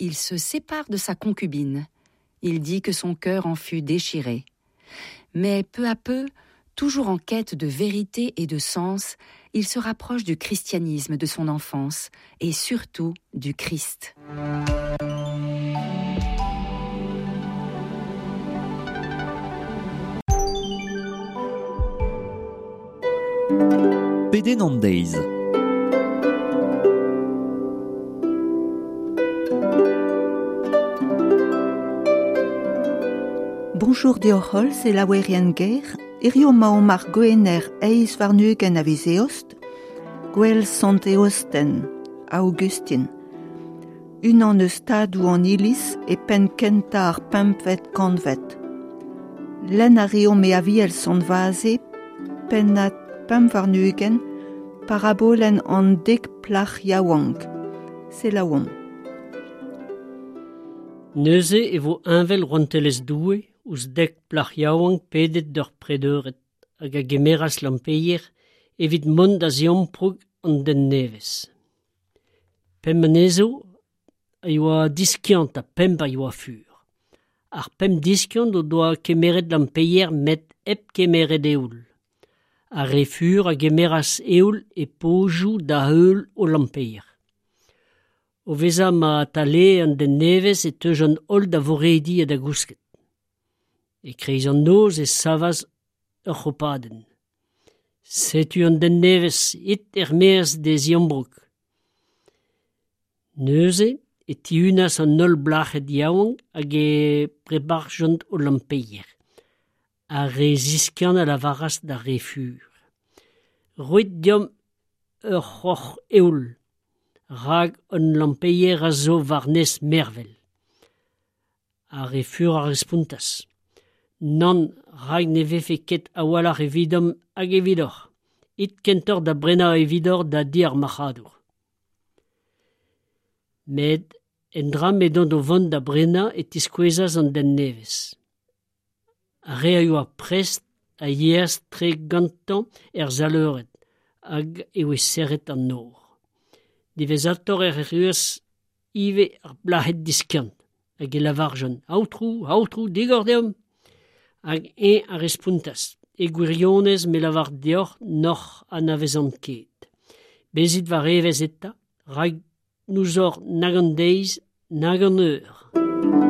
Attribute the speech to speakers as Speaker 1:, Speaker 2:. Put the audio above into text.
Speaker 1: il se sépare de sa concubine. Il dit que son cœur en fut déchiré. Mais peu à peu, toujours en quête de vérité et de sens, il se rapproche du christianisme de son enfance et surtout du Christ.
Speaker 2: Pedenn an deiz.
Speaker 3: Bonjour deoc'h holl, selaouerien ger. Hirio 'maomp ar Gwener 28 a viz Eost, gouel Sant Eosten, Aogustin. Unan eus tadoù an Iliz e penn kentañ ar pempvet kantved. Lenn a reomp e Aviel Sant Vaze, pennad 25, parabolenn an dek plac'h yaouank. Selaouomp.
Speaker 4: Neuze e vo heñvel rouantelezh Doue ouzh dek plac'h yaouank pedet d'ur pred-eured hag a gemeras lampeier evit mont da ziamproug an den nevez. Pemp anezho a yoa diskiant ha pemp a yoa fur. Ar pemp diskiant o doa kemeret lampeier met hep kemeret eoul. Ar re fur a gemeras eoul e pozioù da-heul o lampeier. O vezañ ma talee an den nevez e teujont holl da vorediñ ha da gousket. E-kreiz an noz e savas ur c'hopadenn. Setu an den nevez it er-maez d'e ziambroug. Neuze e tihunas an holl blac'hed yaouank hag e prebarjont o lampeier. Ar re ziskiant a lavaras d'ar re fur. Roit deomp ur c'horr eoul, rak hon lampeier a zo war-nes mervel. Ar re fur a respontas. Nann, rak ne vefe ket a-walc'h evidomp hag evidoc'h. It kentoc'h da brenañ evidoc'h da di ar marc'hadour. Met endra m'edont o vont da brenañ e tiskouezas an den nevez. Ar re a yoa prest a yeas tre gantañ er sal-eured hag e voe serret an nor. Diwezhatoc'h ec'h erruas ivez ar plac'hed diskiant hag e lavarjont Aotrou, Aotrou, digor deomp ! Hag eñ a respontas E gwirionez me lavar deoc'h n'hoc'h anavezan ket. Bezit war evezh eta, rak n'ouzoc'h nag an deiz nag an eur.